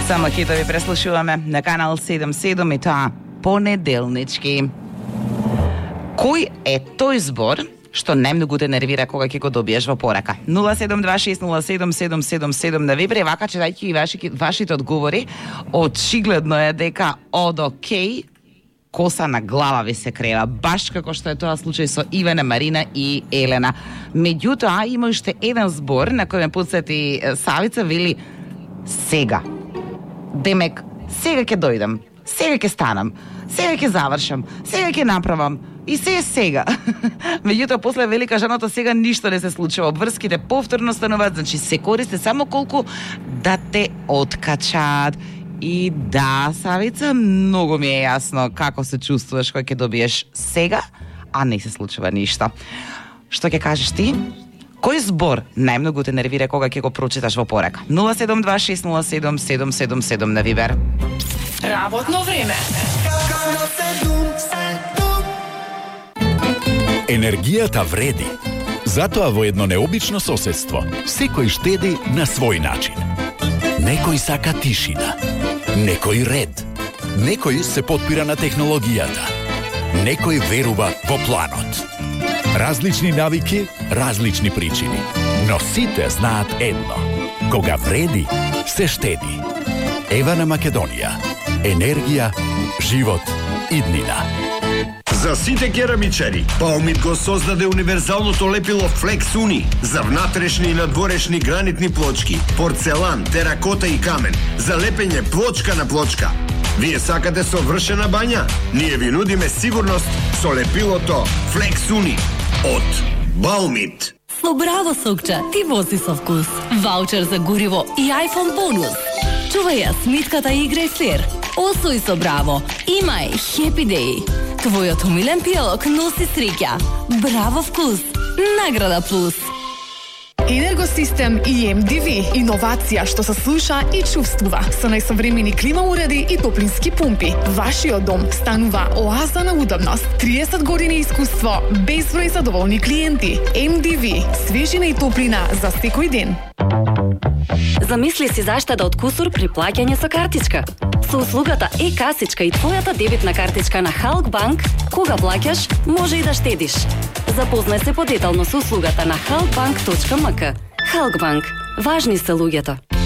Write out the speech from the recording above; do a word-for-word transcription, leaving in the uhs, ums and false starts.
Само хитови преслушуваме на канал седум седум и тоа понеделнички. Кој е тој збор што најмногу те нервира кога ќе го добиеш во порака? нула седум два шест нула седум седум седум седум на Вибер, вака читајќи и ваши, вашите одговори, очигледно е дека од окей коса на глава ви се крева, баш како што е тоа случај со Ивана, Марина и Елена. Меѓутоа, има уште еден збор на кој ме потсети Савица, вели сега. Демек, сега ќе дојдам, сега ќе станам, сега ќе завршам, сега ќе направам, и се е сега. Меѓутоа, после велика жената сега ништо не се случува. Обврските повторно стануваат, значи се користи само колку да те откачаат. И да, Савица, многу ми е јасно како се чувствуваш кога ќе добиеш сега, а не се случува ништо. Што ќе кажеш ти? Кој збор најмногу те нервира кога ќе го прочиташ во порака? нула седум два шест нула седум седум седум седум на Вибер. Работно време. Енергијата вреди. Затоа во едно необично соседство секој штеди на свој начин. Некој сака тишина, некој ред, некој се потпира на технологијата, некој верува во планот. Различни навики, различни причини, но сите знаат едно. Кога вреди, се штеди. Ева на Македонија. Енергија, живот, иднина. За сите керамичари, Баумит го создаде универзалното лепило Flex Uni за внатрешни и надворешни гранитни плочки, порцелан, теракота и камен, за лепење плочка на плочка. Вие сакате совршена бања? Ние ви нудиме сигурност со лепилото Flex Uni од Баумит. Со Браво сокче, ти вози со вкус. Ваучер за гориво и iPhone бонус. Чувај ја смитката и играј флер. Освој со Браво. Имај Happy Day. Твојот умилен пијалок носи среќа. Браво вкус. Награда плюс. Енергосистем и Ем Ди Ви. Иновација што се слуша и чувствува. Со најсовремени клима уреди и топлински пумпи. Вашиот дом станува оаза на удобност. триесет години искуство, безброј задоволни клиенти. Ем Ди Ви. Свежина и топлина за секој ден. Замисли си заштеда од кусур при плаќање со картичка. Со услугата е-касичка и твојата дебитна картичка на Халк Банк, кога плаќаш, може и да штедиш. Запознај се подетално со услугата на халк банк точка ем ка. Халк Банк. Важни се луѓето.